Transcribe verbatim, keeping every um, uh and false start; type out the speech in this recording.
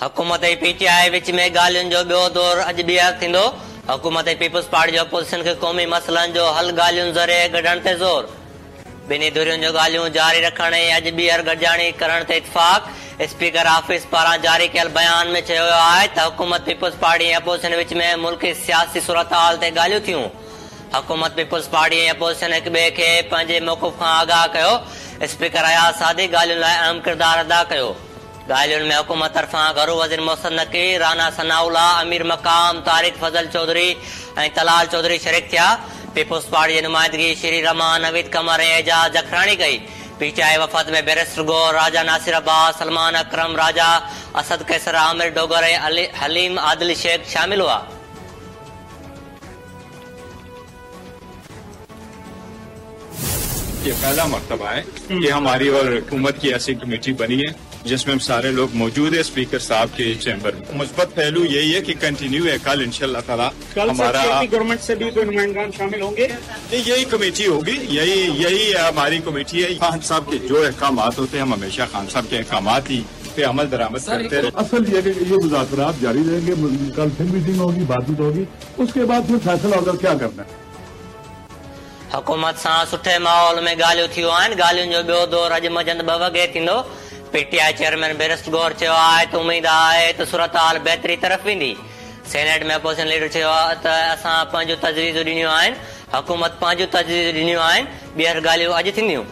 हुकूमत ऐं P T I विच में ॻाल्हियुनि जो ॿियो दौर अॼु ॿीहर थींदो। हुकूमत ऐं पीपल्स पार्टी जो अपोज़िशन खे क़ौमी मसइलनि जो हल ॻाल्हियुनि ज़रिए कढण ते ज़ोर। ॿिन्ही धुरियुनि जो ॻाल्हियूं जारी रखण ऐं अॼु ॿीहर गॾिजाणी करण ते इतफ़ाक़। स्पीकर ऑफिस पारां जारी कयल बयान में चयो वियो आहे त हुकूमत पीपल्स पार्टी ऐं अपोज़िशन विच में मुल्की सियासी सूरत-हाल ते ॻाल्हियूं थियूं। हुकूमत पीपल्स पार्टी ऐं अपोज़िशन हिक ॿिए खे पंहिंजे मौक़िफ़ खां आगाह कयो। स्पीकर अयाज़ सादिक ॻाल्हियुनि लाइ अहम किरदारु अदा कयो। ॻाल्हियुनि में हुकूमत तरफ़ां घरू वज़ीर मोहसिन नकवी, राना सनाउल्ला, अमीर मक़ाम, तारिक फज़ल चौधरी ऐं तलाल चौधरी शरीक थिया। पीपल्स पार्टी जी नुमाइंदगी श्री रमान, नवीद कमर ऐं एजाज़ जखराणी कई। पी टी I वफ़द में बैरिस्टर गौर, राजा नासिर अब्बास, सलमान अकरम, राजा असद कैसर, आमिर डोगर ऐं हलीम आदिल शेख शामिल हुआ। ये पहला मरतबा है कि हमारी और हुकूमत की ऐसी कमेटी बनी है जिसमें हम सारे लोग मौजूद है स्पीकर साहब के चैम्बर में। मुस्बत पहलू यही है कि कंटिन्यू है। कल इंशाअल्लाह ताला हमारा गवर्नमेंट से भी कोई नुमाइंदान शामिल होंगे। यही कमेटी होगी, यही यही हमारी कमेटी है। खान साहब के जो अहकाम होते हैं हम हमेशा खान साहब के अहकाम ही पे अमल दरामद करते रहे। असल ये ये मुज़ाकरात जारी रहेंगे। कल फिर मीटिंग होगी, बातचीत होगी, उसके बाद फिर फैसला होगा क्या करना है। हुकूमत सां सुठे माहौल में ॻाल्हियूं थियूं आहिनि। ॻाल्हियुनि जो ॿियो दौर अॼु मंझंदि ॿ वॻे थींदो। P T I chairman barrister Gohar चयो आहे त उमेद आहे त सूरत हाल बहितरी तरफ़ वेंदी। सेनेट में अपोज़िशन लीडर चयो त असां पंहिंजूं तजवीज़ूं ॾिनियूं आहिनि, हुकूमत पंहिंजूं तजवीज़ूं ॾिनियूं आहिनि, ॿीहर ॻाल्हियूं अॼु थींदियूं।